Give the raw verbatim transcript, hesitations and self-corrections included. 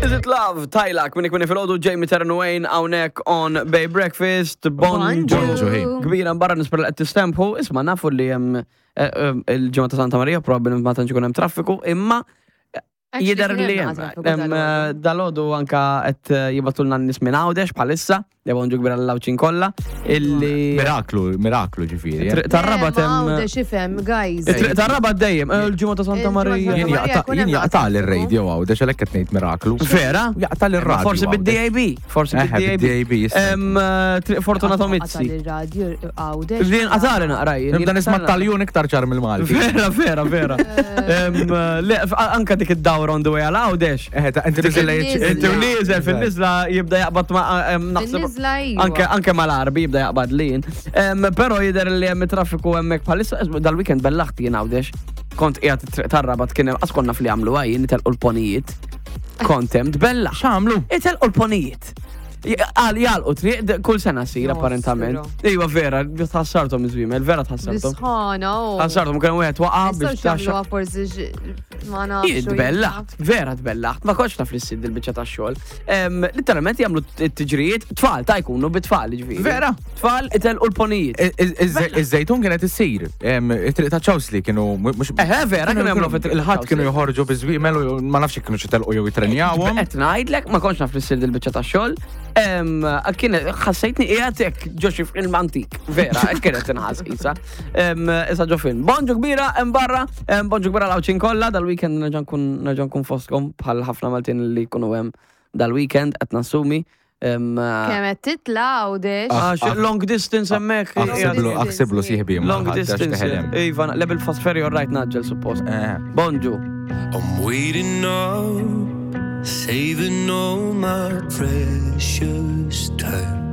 Is it love? Tajlak, minni kmini fil-ħodu, Jamie Terran Wayne, hawnhekk on Bay Breakfast, bonġu. Bonġu, hey. Kbira barra nispera li qed tistempħu, isma' nafu li hemm eh, eh, il-ġimgħa ta' Santa Maria probabbilment ma tantx ikun hemm traffiku, imma jidher li hemm. Hemm eh, Dalgħodu anka qed eh, jibagħtulna n-nies minn Għawdex bħalissa, li bonġu kbira l-Għawdxin kollha, illi Miraklu, miraklu ġifieri. eh. Triq tar-Rabat hemm. Għawdex ifhem, guys. It-triq tar-Rabat dejjem, eh, il-ġimgħa ta' Santa Il-ġimgħa ta' Maria. Santa Jien Maria jaqta' jkun jien hemm jaqta' l-radio Għawdex għalhekk qed ngħid miraklu. Vera? Jaqta' l-radio. Forsi bid-DAB, forsi Eħe, bid-DAB. bid-DAB, jista' Em, eh, Triq Fortunato Mizzi. Il-radio Għawdex. Din qatali naqra jien. Nibda nisma' taljun iktar ċar mill-Malti. Vera, vera, vera. Em, eh, Le, f- anka dik id-dawra on the way għal Għawdex. Eħe, ta' inti niżel Dik Inti u nieżel fil-nizla jibda jaqbad ma' em, naħseb. Fil-nizla iva. Anke anke mal-Arbi jibda jaqbad lin. Em, Però jidher li hemm traffiku hemmhekk bħalissa ismu, dal-weekend bellaħt jien Għawdex. Kont qiegħed it-triq tar-Rabat kien hemm qas konna fli għamlu għajin itelqu l-ponijiet. Kont hemm tbellaħ. X'għamlu? Itelqu l-ponijiet. Għal jalqu triq d- kull sena sir Nostro. apparentament. Iva vera, tħassartom iż-żwiemel, vera tħassartom. Bisħana, u. Tħassartom kien wieħed waqa' biex Nistgħux taxxa. jagħmluha forsi x- ma nafx. Jien tbellaħt, vera tbellaħt, ma kontx naf li ssir il-biċċa tax-xogħol. Em, Literalment jagħmlu t-tiġrijiet, tfal ta' jkunu bit-tfal ġifieri. Vera? Tfal itelqu l-ponijiet. Iż-żejtun kienet issir. Em, It-triq ta' Ċawsli kienu mhux. Eħe, vera, kienu jagħmlu fit-triq ta' Il-ħadd kienu Ċawsli. joħorġu biż-żwiemel u ma nafx kienu xi telqu jew jitrenjawhom. Qed ngħidlek ma kontx naf li ssir il-biċċa tax-xogħol. Em, Kien ħassejtni qiegħed hekk ġo xi film antik, vera, hekk kienet inħass isa. Em, Issa ġo film. Bonġu kbira hemm barra, em, bonġu kbira l-Għawdxin kollha, dal-weekend nerġa' nkun nerġa' nkun fostkom bħal ħafna Maltin li jkunu hemm dal-weekend qed nassumi. Em, Kemm qed titla' Għawdex. Għax long distance hemmhekk. Aħsiblu, aħsiblu sieħbi. Long distance. Iva, level fast ferry all right naġġel suppost. Eh. Bonġu. I'm waiting up, saving all my precious time.